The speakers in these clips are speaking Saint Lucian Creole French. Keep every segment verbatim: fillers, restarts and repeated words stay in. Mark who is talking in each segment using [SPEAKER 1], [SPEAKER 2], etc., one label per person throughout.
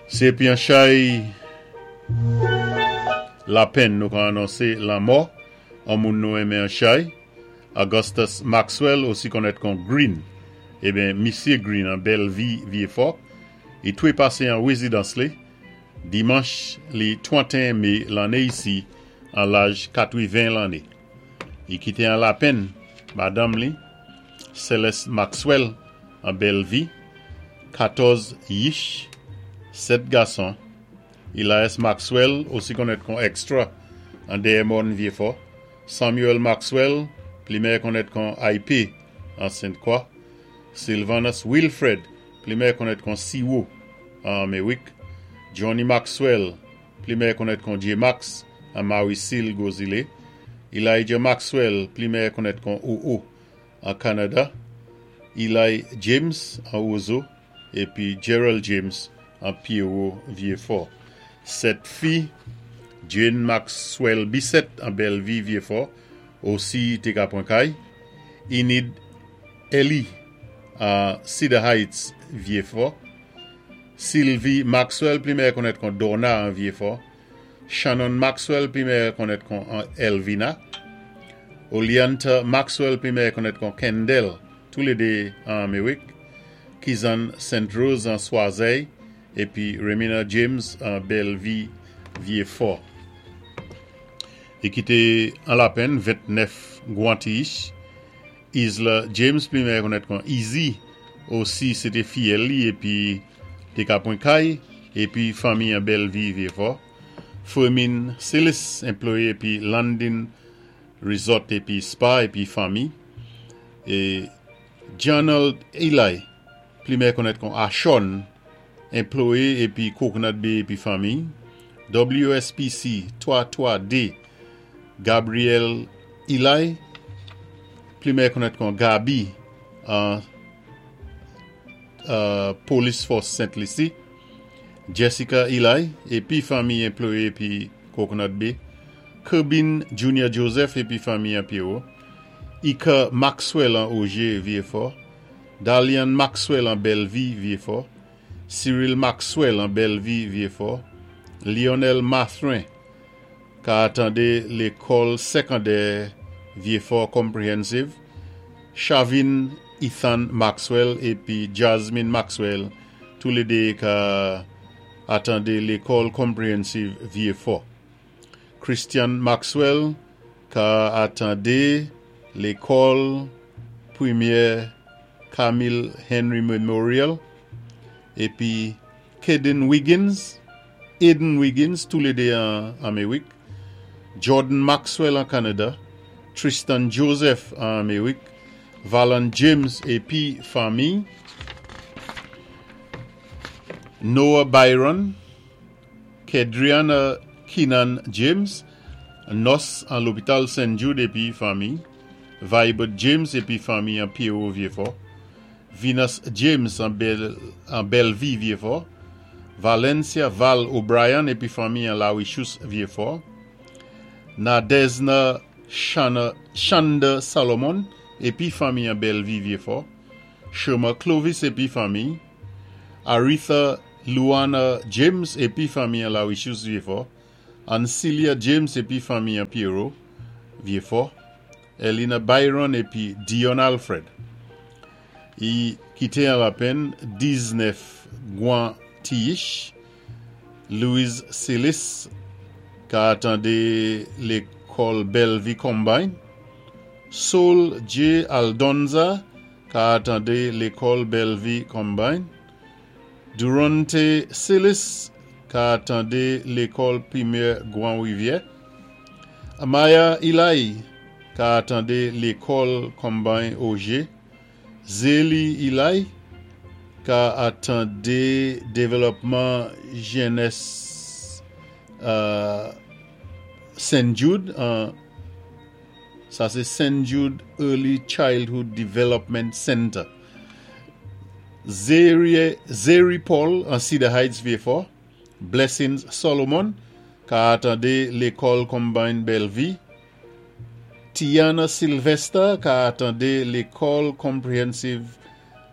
[SPEAKER 1] Sé épi an chay lapenn nou ka anonsé lanmò an moun nou enmen an chay. Augustus Maxwell, osi konnèt kon Green. Eben, Misyé Green an Bellevue Vieux-Fort. I twé pasé an wézidans li. Dimanch li tranteyen mé lanné isi an laj katwenven lanné. I kité an lapenn madanm li, Celeste Maxwell an Bellevue, katòz yich, sèt gason, Elias Maxwell, osi konnèt kon Extra an Dèyè Mòn Vieux-Fort, Samuel Maxwell, pli mèyè konnèt kon I P an Sainte-Croix, Sylvanus Wilfred, pli mèyè konnèt kon Siwo an Amerik, Johnny Maxwell, pli mèyè konnèt kon J. Max an Marie-Cile Gozile, Elijah Maxwell, pli mèyè konnèt kon O O an Kanada, Eli James an Ozo, épi Gerald James an Pierrot Vieux-Fort. Sèt fi, Jane Maxwell Bissett an Bellevue Vieux-Fort, osi té ka pwan kay, Enid Ellie an Cedar Heights Vieux-Fort, Sylvie Maxwell, pli mèyè konnèt kon Donna an Vieux-Fort, Shannon Maxwell, pli mèyè konnèt kon Elvina, Olianta Maxwell, pli mèyè konnèt kon Kendall, toulédé an Amerik, Kizan Saint Rose an Choiseul, épi Remina James an Bellevue Vieux-Fort. I kité an lapenn ventnèf gwan ti yich, Isla James, pli mèyè konnèt kon Easy, osi sé té fiyèl li épi té ka pwan kay, épi fanmi an Bellevue Vieux-Fort. Fermin Silis, anplwayé épi Landing Resort épi Spa épi fanmi. É Janald Eli, pli mèyè konnèt kon Ashon, anplwayé épi Coconut Bay épi fanmi. W S P C twa twa D, Gabriel Eli, pli mèyè konnèt kon Gabi an uh, Police Force Saint Lucie, Jessica Eli, épi fanmi, anplwayé épi Coconut Bay, Kerbin Junior Joseph épi fanmi an Pierrot, Ika Maxwell an Auger Vieux-Fort, Dalian Maxwell an Bellevue Vieux-Fort, Cyril Maxwell an Bellevue Vieux-Fort, Lionel Mathrin, ka atandé lékòl sékondè Vieux-Fort Comprehensive, Shavin Ethan Maxwell épi Jasmine Maxwell, toulédé ka atandé lékòl Comprehensive Vieux-Fort. Christian Maxwell ka atandé lékòl Primè Camille Henry Memorial, épi Kaden Wiggins, Aiden Wiggins, toulédé an Amerik, Jordan Maxwell an Kanada, Tristan Joseph an Amerik, Valan James épi fanmi, Noah Byron, Kedriana Keenan James, nòs an lopital Saint Jude épi fanmi, Vibert James épi fanmi an Pierrot Vieux-Fort, Venus James an, Bel, an Bellevue Vieux-Fort, Valencia Val O'Brien épi fanmi an Larichous Vieux-Fort, Nadezna Shana, Shanda Salomon épi fanmi an Bellevue Vieux-Fort, Sherma Clovis épi fanmi, Aretha Luana James épi fanmi an Larichous Vieux-Fort, Ancilia James épi fanmi an Pierrot Vieux-Fort, Elena Byron épi Dion Alfred. I kité an lapenn diznèf gwan ti yich, Louise Silis ka atandé lékòl Bellevue Combine, Saul J. Aldonza ka atandé lékòl Bellevue Combine, Durante Silis ka atandé lékòl Primè Grand Rivière, Amaya Eli ka atandé lékòl Combine Auger, Zélie Eli ka atandé dévlopman jènès euh, Saint Jude, euh, sa sé Saint Jude Early Childhood Development Center. Zeri, Zeri Paul an Cedar Heights Vieux-Fort, Blessings Solomon ka atandé lékòl Combine Bellevue, Tiana Sylvester ka atandé lékòl Comprehensive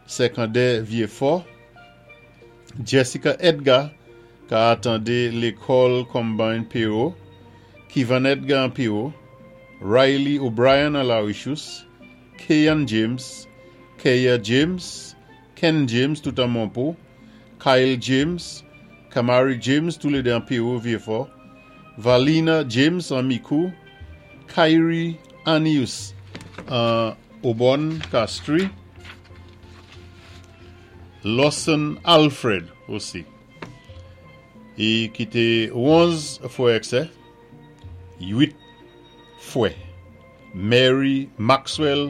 [SPEAKER 1] Sékondè Vieux-Fort, Jessica Edgar Ka atandé lékòl Combined P O, Kevin Edgar an P O, Riley O'Brien an La Richousse, Kayan James, Kaya James, Ken James tout an Monpo, Kyle James, Kamari James toulédé an P O Vieux-Fort, Valina James an Micoud, Kyrie Anius an Obon Castries, Lawson Alfred osi. I kité onz fwè ek sè, uit fwè. Mary Maxwell,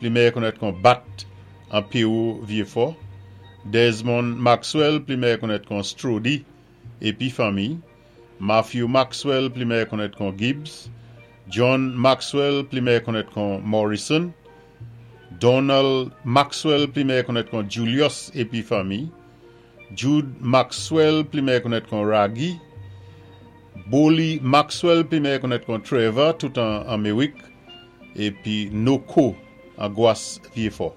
[SPEAKER 1] pli meyè konnèt kon Bat an P O Vieux-Fort. Desmond Maxwell, pli meyè konnèt kon Strody, épi fanmi. Matthew Maxwell, pli meyè konnèt kon Gibbs. John Maxwell, pli meyè konnèt kon Morrison. Donald Maxwell, pli meyè konnèt kon Julius, épi fanmi. Jude Maxwell, pli meyè konnèt kon Raggy. Bolly Maxwell, pli meyè konnèt kon Trevor, tout an Amerik. Épi Noko, an Gwas Vieux-Fort.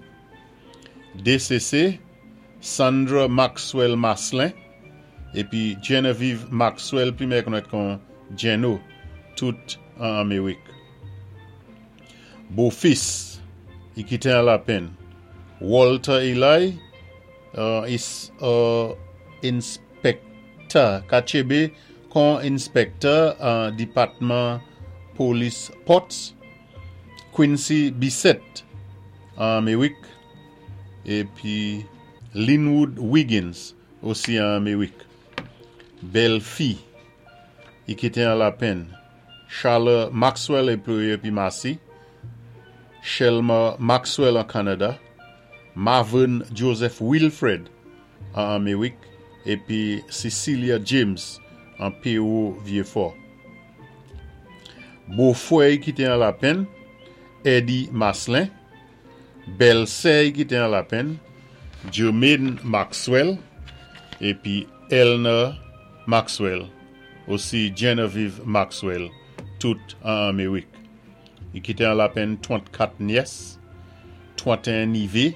[SPEAKER 1] D C C, Sandra Maxwell Maslin. Épi Genevieve Maxwell, pli meyè konnèt kon Geno, tout an Amerik. Bofis, i kité an lapenn. Walter Eli, uh, is uh, inspector, ka tjébé kon inspector an dipatman polis Potts, Quincy Bissett an Amerik, épi Linwood Wiggins osi an Amerik. Bèlfi, i kité an lapenn. Charles Maxwell épi épi Massy, Shelma Maxwell an Kanada, Marvin Joseph Wilfred an Amerik, épi Cecilia James an P O Vieux-Fort. Bofwè kité an lapenn, Eddie Maslin, bèlsè kité an lapenn, Jermaine Maxwell, épi Elna Maxwell, osi Genevieve Maxwell, tout an Amerik. I kité an lapenn trannkat nyès, tranteyen nivé,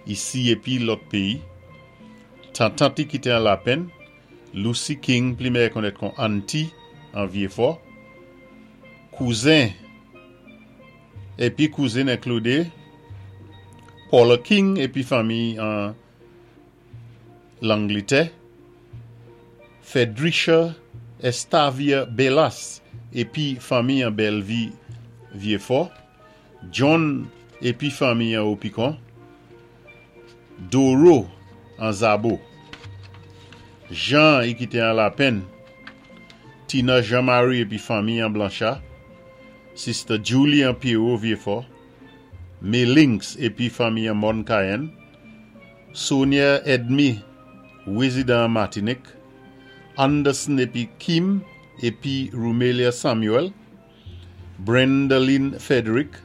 [SPEAKER 1] isi épi lòt péyi. Tantant i kité an lapenn, Lucy King, pli meyè konnèt kon Auntie an Vieux-Fort. Kouzen, épi kouzin enklidé Paula King épi fanmi an Langlitè, Fredricia Estavia Bellas épi fanmi an Bellevue Vieux-Fort, John épi fanmi an Opicon, Doro an Zabo. Jean i kité an lapenn, Tina Jean-Marie épi fanmi an Blanchard, Sister Julie an P O Vieux-Fort, Melinx épi fanmi an Mon Cayenne, Sonia Edmi, rézidan Martinique, Anderson épi Kim épi Rumelia Samuel, Brendaline Frederick,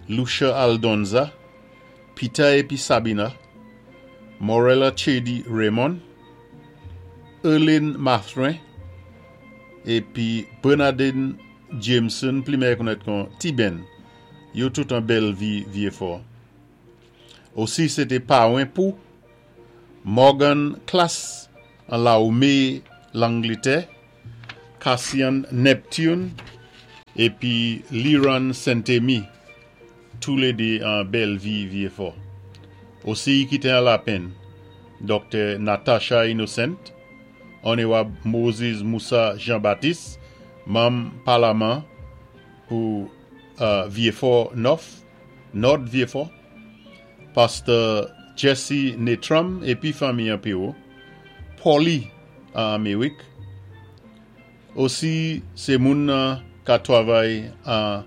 [SPEAKER 1] Lucia Aldonza, Peter épi Sabina, Morella Chedi Raymond, Erlene Mathrin, épi Bernardine Jameson, pli meyè konnèt kon Tiben, yo tout an Bellevue Vieux-Fort. Osi sété pawen pou Morgan Class an Laomé Langlitè, Cassian Neptune, épi Liran Saint-Amy, toulédé an Bellevue Vieux-Fort. Osi kité an lapenn, Doktè Natasha Innocent, Onéwab Moses Moussa Jean-Baptiste, manm palaman pou uh, Vieux-Fort North, Nord Vieux-Fort, Pasteur Jesse Netram épi fanmi an P O, Polly an Amerik, osi sé moun ka twavay an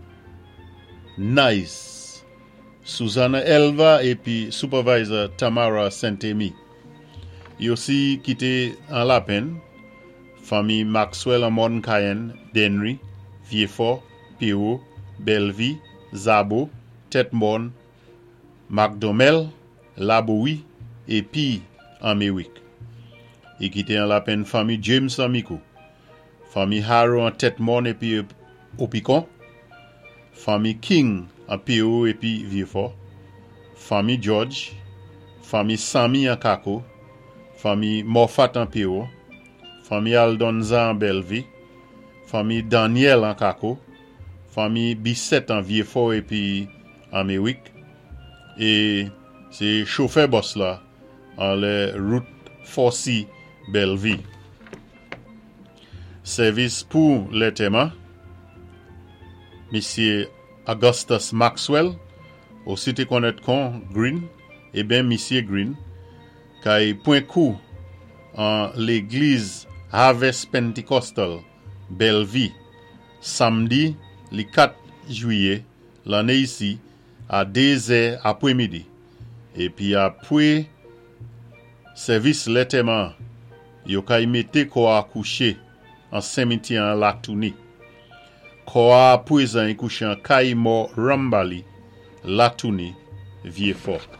[SPEAKER 1] Nice, Susanna Elva épi supervisor Tamara Saint-Amy. Yo osi kité an lapenn, fanmi Maxwell an Mon Cayenne, Denry, Vieux-Fort, P O, Bellevue, Zabo, Tête-Morne, McDomel, Laboui, épi Amerik. I kité an lapenn fanmi James an Micoud, fanmi Harrow an Tête-Morne épi Opicon, fanmi King an P O épi Vieux-Fort, fanmi George, fanmi Samy an Kako, fanmi Moffat an P O, Fanmi Aldonza an Bellevue, fanmi Daniel an Kako, fanmi Bisset an Vieux-Fort épi an Mérique, é sé chofè bus la an lè Route four C Bellevue. Sèvis pou lantèman, Misyé Augustus Maxwell, osi té konnèt kon Green, ében Misyé Green, kay pwan kou an légliz Harvest Pentecostal Bellevue, samdi li kat jwiyé lanné isi a dé zè apwémidi. Épi apwé sèvis lantèman, yo kay mété kò a kouché an simityè an Latouni. Kò a apwézan i kouché an kay mò Rambali, Latouni, Vieux-Fort.